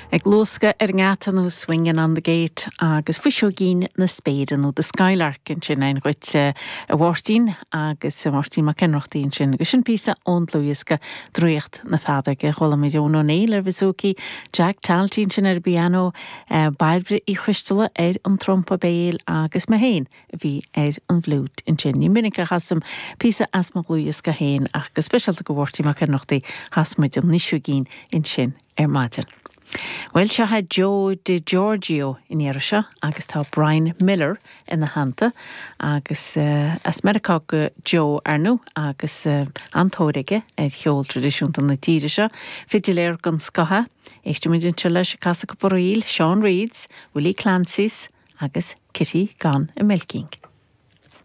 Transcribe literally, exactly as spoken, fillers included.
Ag luascadh ar an ngeata nó Swingin' on the Gate agus Fuiseoigín na Spéire nó The Skylark ansin ann dhuit a Mháirtín agus Máirtín Mac Ionnrachtaigh ansin agus sin píosa ón dlúthdhiosca Draíocht na Feadóige. Chuala muid Eoin Ó Néill ar bhouzouki, Jack Talty ansin ar an bpianó, Bairbre Uí Choisteala ar an trumpa béil agus mé féin a bhí ar an bhfliúit ansin. Ní minic a chasaim píosa as mo dhlúthdhiosca féin ach go speisialta do Mháirtín Mac Ionnrachtaigh chas muid an Fhuiseoigín ansin ar maidin. Well seo é Joe DiGiorgio in iarra seo agus tá Brian Miller ina theannta agus uh, as Meiriceá do Joe ar ndóigh agus uh, an-tóir aige ar cheol traidisiúnta na tíre seo, Fidiléir den scoth, Éistfimid anseo leis ag casadh cúpla ríl, Sean Reeds, Willie Clancy's agus Kitty Gone a Milking.